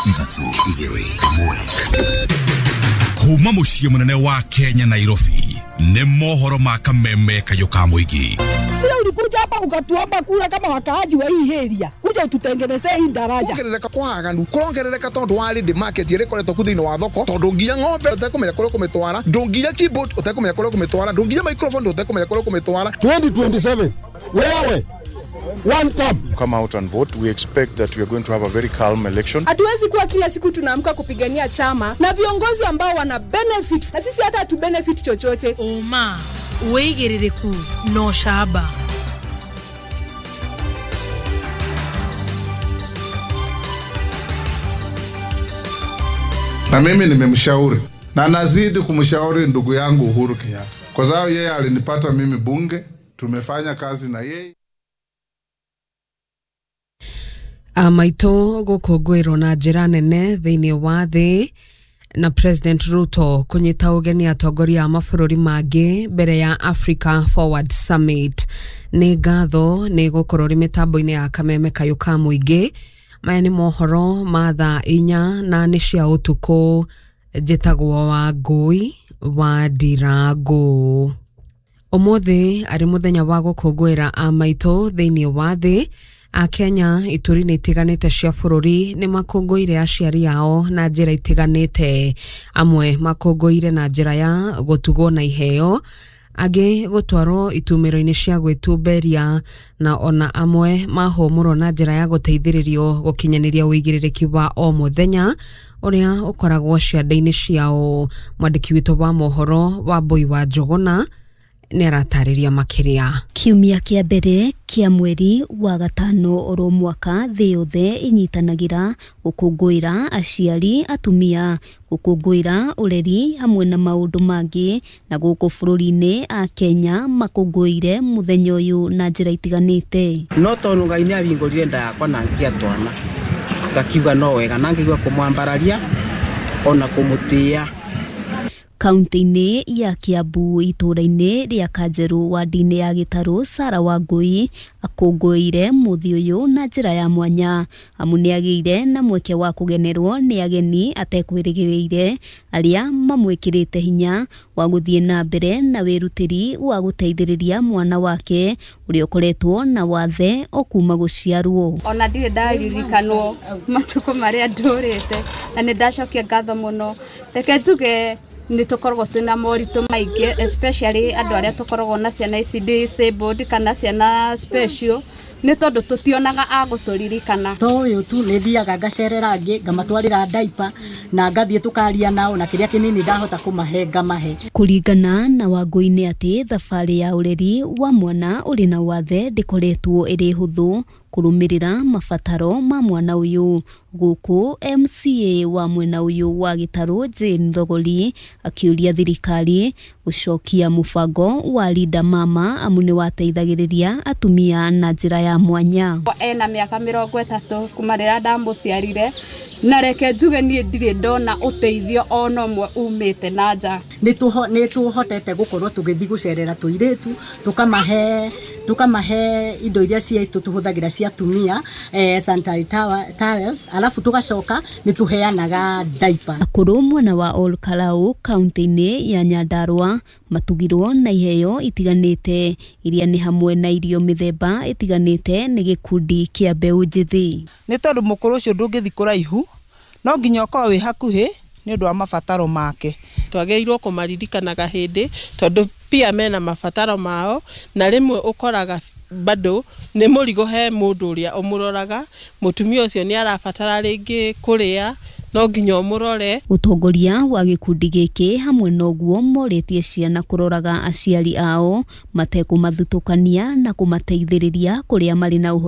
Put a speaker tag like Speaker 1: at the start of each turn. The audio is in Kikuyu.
Speaker 1: 3 2 1. Kuma muciĩ mũnene wa Kenya Nairobi nĩ mohoro ma kameme kayũ ka mũingĩ.
Speaker 2: Ulikuja hapa ukatuomba kura kama wakaaji wa hii area, kuja ututengenezee hii daraja.
Speaker 3: Kuongerereka kwa aganu kurongerereka tondu wa ready market ĩrĩa ĩkoretwo ku thĩinĩ wa thoko, tondu nginya ng'ombe ũtekũmenya kũrĩa ũkũmĩtwara, ndũnginya keyboard ũtekũmenya kũrĩa ũkũmĩtwara, ndũnginya microphone ũtekũmenya kũrĩa ũkũmĩtwara.
Speaker 4: 2027 wewe one term.
Speaker 5: Come out and vote. We expect that we are going to have a very calm election.
Speaker 6: Hatuwezi kuwa kila siku tunaamka kupigania chama na viongozi ambao wana benefit na sisi hata hatu benefit chochote.
Speaker 7: Uma wĩigĩrĩrĩku no shaba.
Speaker 8: Na mimi nimemshauri na nazidi kumshauri ndugu yangu Uhuru Kenyatta, kwa sababu yeye alinipata mimi bunge, tumefanya kazi na yeye.
Speaker 9: Amaitũ gũkũngũĩrwo na njĩra nene thĩinĩ wa thĩ na President Ruto kũnyita ũgeni atongoria a mabũrũri mangĩ mbere ya Africa Forward Summit. Nĩ ngatho nĩ gũkorwo rĩ mĩtambo-inĩ ya kameme kayũ ka mũingĩ. Maya nĩ mohoro ma thaa 4 na nĩ cia ũtukũ. Njĩtagwo Wangũi wa Ndirango. Ũmũthĩ arĩ mũthenya wa gũkũngũĩra amaitũ thĩinĩ wa thĩ. Akenya ituri-inĩ itiganĩte cia bũrũri nĩ makũngũĩire aciari ao na njĩra itiganĩte. Amwe makũngũĩire na njĩra ya gũtugwo na iheo, angĩ gũtwarwo itumĩro-inĩ cia gwĩtumberia, na ona amwe mahũmũrwo na njĩra ya gũteithĩrĩrio gũkinyanĩria ũigĩrĩrĩki wa o mũthenya ũrĩa ũkoragwo ciande-inĩ ciao. Mwandĩki witũ wa mohoro Wambui wa Njũgũna nĩ aratarĩria makĩria.
Speaker 10: Kiumia kĩa mbere kĩa mweri wa gatano oro mwaka thĩ yothe ĩnyitanagĩra gũkũngũĩra aciari atumia, gũkũngũĩra ũreri hamwe na maũndũ mangĩ, na gũkũ bũrũri-inĩ a Kenya makũngũĩire mũthenya ũyũ na njĩra itiganĩte.
Speaker 11: No tondũ Ngai nĩ ahingũrire nda yakwa na ngĩgĩa twana, ngakiuga no wega na ngĩigua kũmwambararia ona kũmũtĩĩa.
Speaker 10: Kaunti-inĩ ya Kiambu itũũra-inĩ rĩa Kanjeru wadi-inĩ ya Gĩtarũ, Sarah Wangũi akũngũĩire mũthĩ ũyũ na njĩra ya mwanya, amu nĩagĩire na mweke wa kũgenerwo nĩ ageni atekwĩrĩgĩrĩire arĩa mamwĩkĩrĩte hinya wa gũthiĩ na mbere na wĩrutĩri wa gũteithĩrĩria mwana wake ũrĩa ũkoretwo na wathe o kuma gũciarwo.
Speaker 12: Ona ndirĩ ndaririkanwo matukũ marĩa ndũrĩte na nĩ ndacokia ngatho mũno. Reke njuge nĩ tũkoragwo twĩna moritũ maingĩ, especially andũ arĩa tũkoragwo na ciana ici disabled kana ciana special, nĩ tondũ tũtionaga a gũtũririkana.
Speaker 13: To ũyũ tu nĩ thiaga ngacerera angĩ ngamatwarĩra diaper na ngathiĩ tũkaria nao na kĩrĩa kĩnini ndahota kũmahe ngamahe.
Speaker 10: Kũringana na Wangũi nĩ atĩ thabarĩ ya ũreri wa mwana ũrĩ na wathe ndĩkoretwo ĩrĩ hũthũ kũrũmĩrĩra mabataro ma mwana ũyũ. Gũkũ MCA wa mwena ũyũ wa Gĩtarũ Jane Thogori akĩũria thirikari gũcokia mũbango wa Linda Mama amu nĩ wateithagĩrĩria atumia na njĩra ya mwanya.
Speaker 12: Ena mĩaka 30 kuma rĩrĩa ndamũciarire, na reke njuge niĩ ndirĩ ndona ũteithio ona ũmwe umĩte na nja.
Speaker 13: Nĩ tũhotete gũkorwo tũgĩthiĩ gũcerera tũirĩtu, tũkamahe indo iria ciitũ tũhũthagĩra cia atumia, sanitary towels, alafu tũgacoka nĩ tũheanaga diaper.
Speaker 10: Akũrũ mwena wa Ol Kalou kaunti-inĩ ya Nyandarua matugirwo na iheo itiganĩte iria nĩ hamwe na irio mĩthemba ĩtiganĩte nĩ gĩkundi kĩa mbeũ njĩthĩ.
Speaker 14: Nĩ tondũ mũkũrũ ũcio ndũngĩthiĩ kũraihu, no nginya ũkorwo wĩ hakuhĩ nĩ ũndũ wa mabataro make.
Speaker 15: Twagĩrĩirwo kũmaririkanaga hĩndĩ tondũ pia mena mabataro mao, na rĩmwe ũkoraga bado nĩ mũrigo he mũndũ ũrĩa ũmũroraga. Mũtumia ũcio nĩ arabatara rĩngĩ kũrĩa, no nginya ũmũrore.
Speaker 10: Ũtongoria wa gĩkundi gĩkĩ hamwe na ũguo morĩtie ciana kũroraga aciari ao matekũmathutũkania na kũmateithĩrĩria kũrĩa marĩ na ũhoti.